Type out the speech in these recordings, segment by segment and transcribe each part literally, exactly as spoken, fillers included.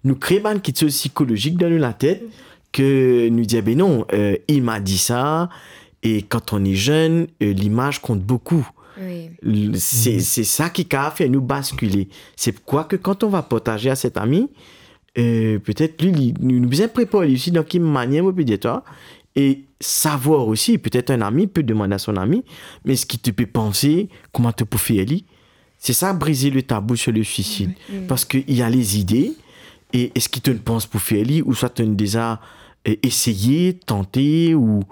nou kre bann kitsoz sikolozik dan nou latet, ke nou dir, "Ben non, euh, il m'a dit ça, et quand on est jeune, euh, l'image compte beaucoup." Oui. L-, se, se sa ki kapav fer nou baskile. Se pourkwa ke kan on va partaze a set ami, euh, petet li, li, nou, nou bizin prepar li osi dan ki manier mo pe dir twa, e savwar osi, petet enn ami pe demann a son ami, "Mais est-ce que tu peux penser comment tu peux faire li?" C'est ça, briser le tabou sur le suicide. Oui. Parce qu'il y a les idées, et est-ce que tu penses pour faire li, ou soit tu as déjà, euh, essayé, tenté, ou,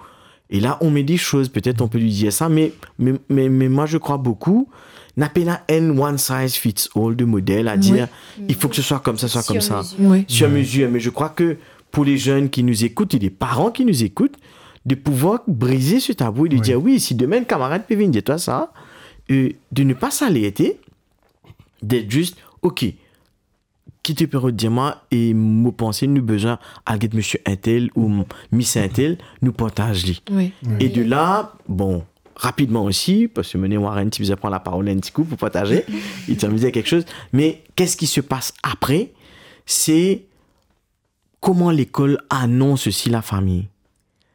et là, on met des choses, peut-être on peut lui dire ça, mais, mais, mais, mais moi, je crois beaucoup, n'a pas un one size fits all de modèle à dire, il faut que ce soit comme ça, soit comme ça. Sur mesure. Oui. Sur mesure, mais je crois que pour les jeunes qui nous écoutent et les parents qui nous écoutent, de pouvoir briser ce tabou et de dire, oui, si demain un camarade peut venir dire toi ça, euh, de ne pas s'alerter, d'être juste, ok, ki to pe rod dir mwa, e mo panse nou bizin al get misie intel ou m-, mis intel, nou partaz li. Oui. E de la, bon, rapidman osi, parski mo ena Warren ti bizin pran laparol enn ti kou pou partaze, li ti anvi dir kiksoz, me qu'est-ce qui se passe après, c'est comment l'école annonce aussi la famille.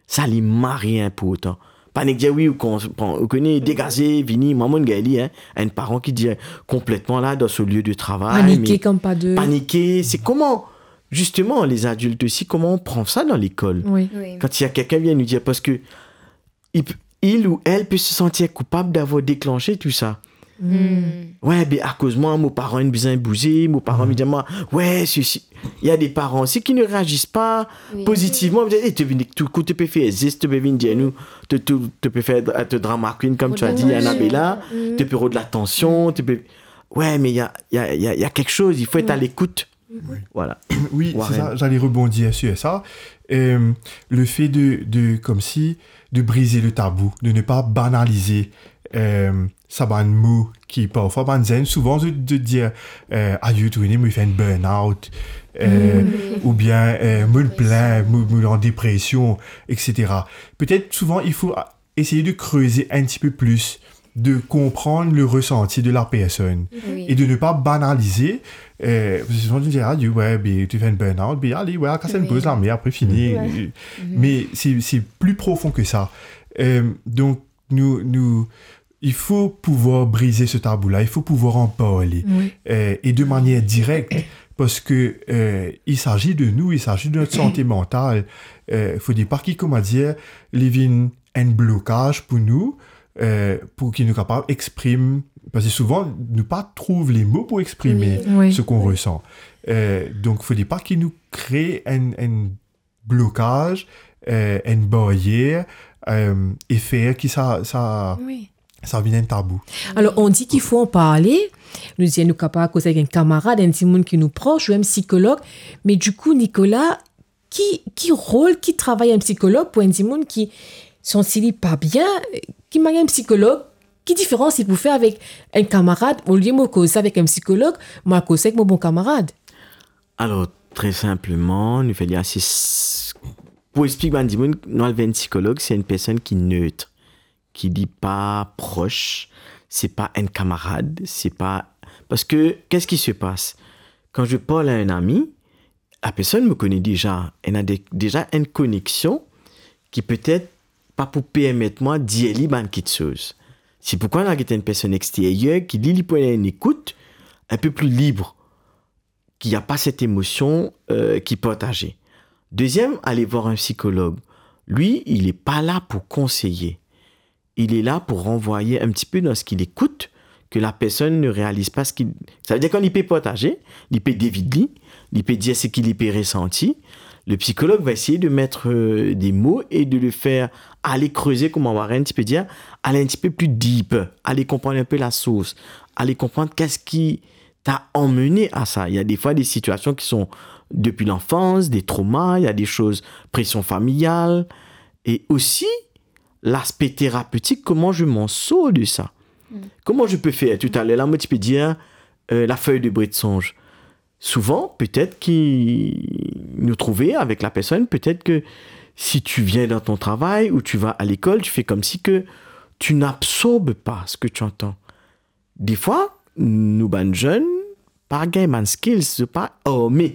Sa li mari inportan. Pa nek dir, wi, ou kon-, pran, ou kone, degaze, vini, mwa, mo'nn gagn li, hein. Enn paran ki dir konpletman la, dan so lie de travay, panike, me kom pa de panike, se koman, justement, les adultes aussi, comment on prend ça dans l'école ? Oui. Oui. Quand il y a quelqu'un vient nous dire, parce que il p-, il ou elle peut se sentir coupable d'avoir déclenché tout ça. Hmm. Ouais, ben, akoz mwa, mo paran inn bizin bouze, mo paran inn dir mwa, ouais, si, si. Il y a des parents aussi qui ne réagissent pas positivement. Ils disent, eh, to vinn, tou kou to pe fer zes, to pe vinn dir nou, to, to, to pe fer, euh, to drama queen, comme tu as dit, Annabella, to pe rod latansion, to pe, ouais, mais il y a, il y a, il y a, il y a quelque chose, il faut être à l'écoute. Oui. Voilà. Oui, c'est ça, j'allais rebondir sur ça. Euh, le fait de, de, comme si, de briser le tabou, de ne pas banaliser, euh, sa bann mo ki parfwa bann zenn, souvan zot, zot dir, euh, "Ayo, to kone, mo fer enn burn-out", euh, oubien, euh, "Mo plin, mo, mo an depresion", et cetera. Peut-être, souvent, il faut essayer de creuser un petit peu plus, de comprendre le ressenti de la personne et de ne pas banaliser. Euh, parce que souvent, tu dis, "Ah, Dieu, ouais, ben, tu fais une burn-out, ben, allez, ouais, casse une pause là, mais après, fini." Mais c'est, c'est plus profond que ça. Euh, donc, nous, nous, il faut pouvoir briser ce tabou-là, il faut pouvoir en parler. Euh, et de manière directe, parce que, euh, il s'agit de nous, il s'agit de notre santé mentale. Euh, faut pas ki, kouma dir, li vinn enn blokaz pou nou, euh, pou ki nou kapav exprim, parski souvan nou pa trouv lemo pou exprime ce qu'on ressent. Euh, donc, faut pas ki nou kre enn, enn blokaz, euh, enn baryer, euh, e fer ki sa, sa, sa vinn enn tabou. Alors, on dit qu'il faut en parler. Nou dir nou kapav koz avek enn kamarad, enn dimoun ki nou pros, ou enn psikolog. Me dikou, Nicolas, ki, ki rol, ki travay enn psikolog pou enn dimoun ki santi li pa bien, ki manier enn psikolog, ki diferans li pou fer avek enn kamarad, olie mo koz avek enn psikolog, mo al koz avek mo bon kamarad? Alors, très simplement, nou fer li asiz, pou explik bann dimoun, nou al ver enn psikolog, se enn personn ki neutre, ki li pa pros, se pa enn kamarad, se pa, parce que, qu'est-ce qui se passe ? Quand je parle à un ami, la personne me connaît déjà, elle a dé-, déjà une connexion qui peut-être pa pou permet mwa dir li bann kiksoz. C'est pourquoi nou al get enn personn exteryer ki li, li pou ena enn ekout un peu plus libre, qu'il n'y a pas cette émotion, euh, qui est partagée. Deuxième, aller voir un psychologue. Lui, il est pas là pour conseiller. Il est là pour renvoyer un petit peu dans ce qu'il écoute, que la personne ne réalise pas ce qu'il, ça veut dire, kan li pe partaze, li pe devid li, li pe dir seki li pe resanti, le psychologue va essayer de mettre, euh, des mots et de le faire aller creuser, kouma Warren ti pe dir, aller un petit peu plus deep, aller comprendre un peu la source, aller comprendre qu'est-ce qui t'a amené à ça. Il y a des fois des situations qui sont depuis l'enfance, des traumas, il y a des choses, pression familiale, et aussi l'aspect thérapeutique, comment je m'en sors de ça. Mm. Comment je peux faire ? Tout à l'heure, la, mo ti pe dir, euh, la feuille de bret de songe. Souvent, peut-être ki nou trouve avec la personne, peut-être que si tu viens dans ton travail ou tu vas à l'école, tu fais comme si que tu n'absorbes pas ce que tu entends. Defwa, nou bann zenn pa gagn bann skills, zot pa arme